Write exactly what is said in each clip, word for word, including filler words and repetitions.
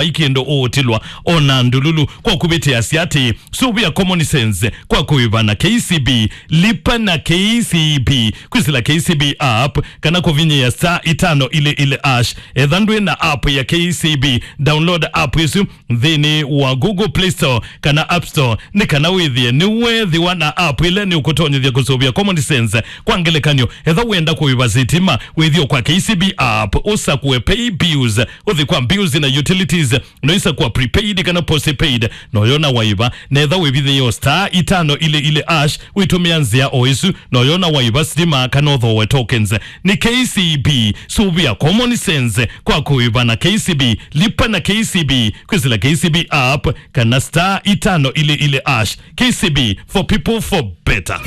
vai kĩndũ ũũtilwa, ona ndululu. Kwa kũvĩtĩa sya atĩ, sũvĩa Common Sense kwa kũĩva na K C B, lipa na K C B, kwĩsĩla K C B app, kana kũvinyĩa star itano ili ili hash. Etha ndwĩ na app ya K C B, download app ĩsu nthĩnĩ wa Google Play Store kana App Store, nĩ kana wĩthĩe nĩweethĩwa na app ĩla nĩũkũtonyethya kũsũvĩa Common Sense. Kwa ngelekany'o, etha wenda kũĩva sitima, wĩthĩe kwa K C B app, ũsakũe Pay Bills, ũthi kwa Bills na Utilities, no ũisakũa Prepaid kana Postpaid, no ũyona waĩva. Netha wĩvithĩe star itano ili ili hash, wĩtũmĩa nzĩa o ĩsu, no ũyona waĩva sitima kana ũthooe tokens. Nĩ K C B, sũvĩa Common Sense kwa kũĩva na K C B, lipa na K C B, kwĩsĩla K C B app, kana star itano ili ili hash. K C B, for people, for better.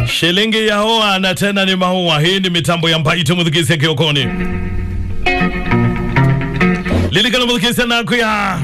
Shilingi ya oa na tena nĩ maũa. Hii nĩ mĩtambo ya Mbaitũ, mũthikĩĩsya kĩokoni. Lilikana mũthikĩĩsya naku ya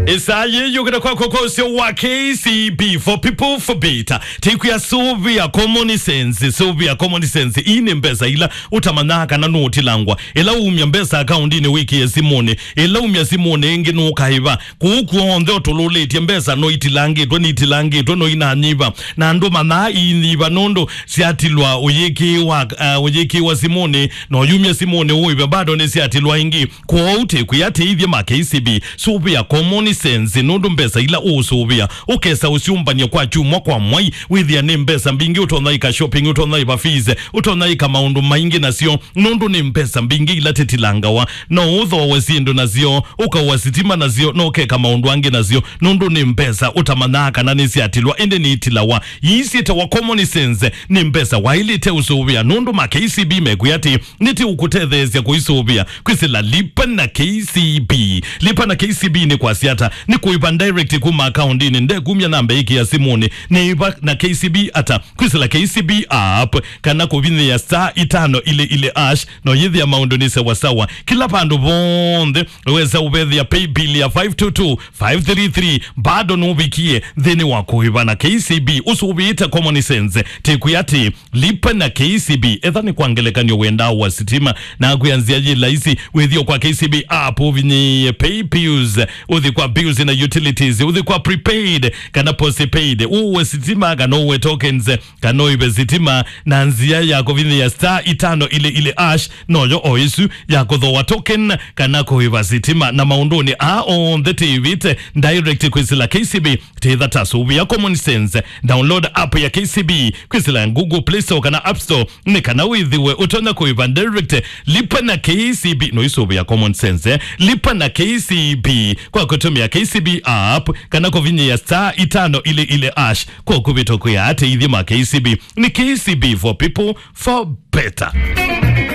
ĩsaa yĩĩ yũkĩte kwakwa kwa ũseo wa K C B, for people, for better. Tĩkwĩa sũvĩa Common Sense, sũvĩa Common Sense. Ii nĩ mbesa ila ũtamanyaa kana nũũtilangwa. Ĩla umya mbesa akaundinĩ wĩkĩe simũnĩ, ĩla umya simũnĩ ĩngĩ nũkaĩva. Kũu kw'onthe ũtũlũlĩtye mbesa no itilangĩtwe, nĩitilangĩtwe, no inanyiva. Na andũ manaa iinyiva nũndũ syatilwa ũyĩkĩĩwa, uh, ũyĩkĩĩwa simũnĩ, na ũyumya simũnĩ ũĩve bado nĩsyatilwa ĩngĩ. Kwoou tĩkwĩa tĩithye ma K C B, sũvĩa Common Sense, nũndũ mbesa ila ũũsũvĩa ũkesa ũsyũmbany'a kwa kyumwa kwa mwai, wĩthĩa nĩ mbesa mbingĩ, ũtonya ĩka shopping, ũtonya ĩva fees, ũtonya ĩka maũndũ maingĩ nasyo, nũndũ nĩ mbesa mbingĩ ila tĩtilangawa. No ũthooe syĩndũ nasyo, ũkaũa sitima nasyo, no ũkeka maũndũ angĩ nasyo, nũndũ nĩ mbesa ũtamanyaa kana nĩsyatilwa, ĩndĩ nĩitilawa. Ii syĩtawa Common Sense, nĩ mbesa waĩlĩte ũsũvĩa, nũndũ ma K C B mekwĩa atĩ nĩtĩũkũtetheesya kũisũvĩa kwĩsĩla lipa na K C B. Lipa na K C B nĩ kwasya ata? Nĩ kũĩva direct kuma akaundinĩ, ndekumya namba ĩkĩa simũnĩ. Nĩĩva na K C B ata? Kwĩsĩla K C B app kana kũvinyĩa star itano ili ili hash, no yĩthĩa maũndũ nĩ sawasawa. Kĩla vandũ vonthe wesa ũvethĩa pay bill ya five two two five three three, bado nũvikie nthĩnĩ wa kũĩva na K C B. Ũsũvĩĩte Common Sense, tĩkwĩa atĩ lipa na K C B. Etha nĩ kwa ngelekany'o wendaa ũa sitima, na kwĩa nzĩa yĩ laisi, wĩthĩo kwa K C B app, ũvinyĩĩe Pay Bills, ũthi kwa Bills na Utilities, ũthi kwa Prepaid kana Postpaid, ũũe sitima kana ũũe tokens, kana ũĩve sitima na nzĩa ya kũvinyĩĩa star itano ili ili hash, noyo o ĩsu ya kũthooa token kana kũĩva sitima. Na maũndũnĩ aa onthe tĩĩvĩte direct kwĩsĩla K C B. Tĩtha ta sũvĩa Common Sense. Download app ya K C B kwĩsĩla Google Play Store kana App Store, nĩ kana wĩthĩwe ũtonya kũĩva direct. Lipa na K C B, no isũvĩa Common Sense, eh? Lipa na K C B kwa kũtũmĩa K C B app kana kũvinyĩĩa star itano ili ili hash. Kwa kũvĩtũkĩa ateithye ma K C B. Nĩ K C B, for people, for better.